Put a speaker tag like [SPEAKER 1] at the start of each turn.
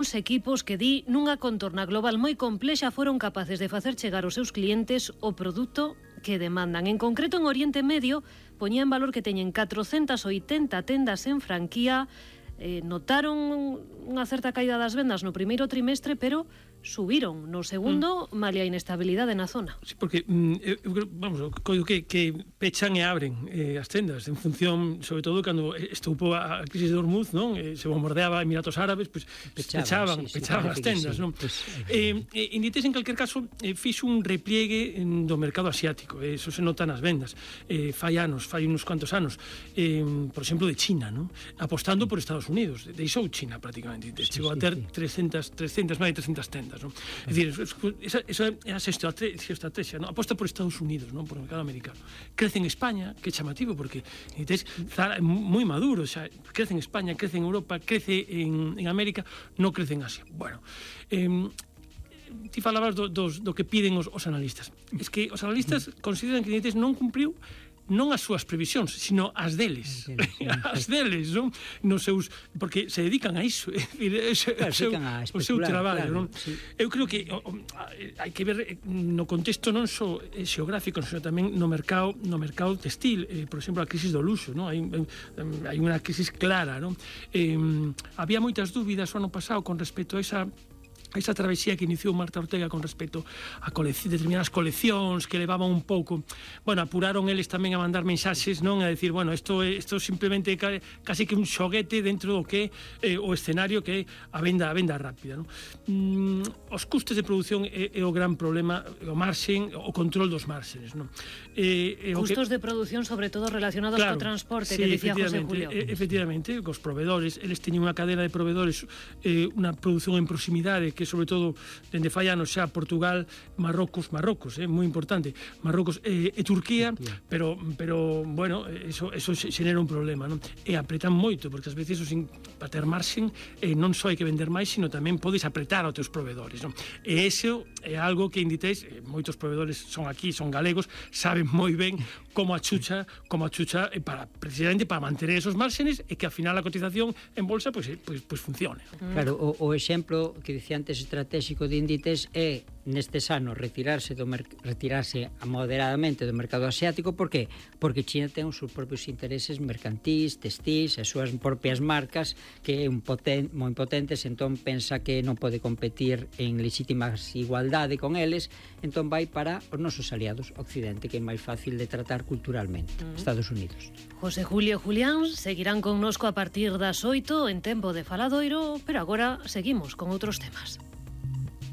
[SPEAKER 1] Os equipos que di nunha contorna global moi complexa foron capaces de facer chegar aos seus clientes o produto que demandan. En concreto, en Oriente Medio, poñía en valor que teñen 480 tendas en franquía. Notaron unha certa caída das vendas no primeiro trimestre, pero subiron no segundo, malia a inestabilidade na zona.
[SPEAKER 2] Sí, porque, vamos, coido que pechan e abren as tendas en función, sobre todo, cando estoupou a crisis de Hormuz, non? Se bombardeaba Emiratos Árabes, pues, pechaban as tendas, non? Inditex, en calquer caso, fixo un repliegue do mercado asiático, eso se nota nas vendas. Fai uns cuantos anos, por exemplo, de China, non? Apostando por Estados Unidos, deixou China prácticamente, chegou a ter 300, máis de 300 tendas, non? É dicir, esa é a estrategia, non? Aposta por Estados Unidos, non? Por o mercado americano. Crece en España, que é chamativo, porque Zara é moi maduro, xa, crece en España, crece en Europa, crece en América, non crece en Asia. Bueno, ti falabas do que piden os analistas. Es que os analistas consideran que Inditex non cumpriu non as súas previsións, sino as deles. As deles, non? Nos seus, porque se dedican a iso, o seu traballo, non? Eu creo que hai que ver no contexto non só xeográfico, sino tamén no mercado textil, por exemplo, a crisis do luxo, non? Hai unha crisis clara, non? Había moitas dúbidas o ano pasado con respecto a esa travesía que iniciou Marta Ortega con respecto a determinadas coleccións que levaban un pouco, bueno, apuraron eles tamén a mandar mensaxes, non? A decir, bueno, isto simplemente casi que un xoguete dentro do que o escenario que é a venda rápida, non? Os custes de produción é o gran problema, o marxen, o control dos marxenes, non?
[SPEAKER 1] Custos de produción, sobre todo relacionados co transporte, que dicía José Julio.
[SPEAKER 2] Efectivamente, cos provedores, eles teñen unha cadena de provedores, unha produción en proximidade que sobre todo dende fai anos xa Portugal, Marrocos, moi importante, Marrocos e Turquía, pero bueno, eso xenera un problema, non? E apretan moito, porque ás veces para ter marxen non só hai que vender máis, sino tamén podes apretar aos teus provedores, non? E iso é algo que Inditex, moitos provedores son aquí, son galegos, saben moi ben como a chucha precisamente para manter esos márgenes e que ao final a cotización en bolsa pues funcione.
[SPEAKER 3] Claro, o exemplo que dicía antes estratégico de Inditex é nestes anos retirarse moderadamente do mercado asiático. Por que? Porque China ten os seus propios intereses mercantís, textís, as súas propias marcas que é moi potentes, entón pensa que non pode competir en legítimas igualdade con eles, entón vai para os nosos aliados Occidente, que é máis fácil de tratar culturalmente, Estados Unidos.
[SPEAKER 1] José Julio e Julián seguirán connosco a partir das 8 en Tempo de Faladoiro, pero agora seguimos con outros temas.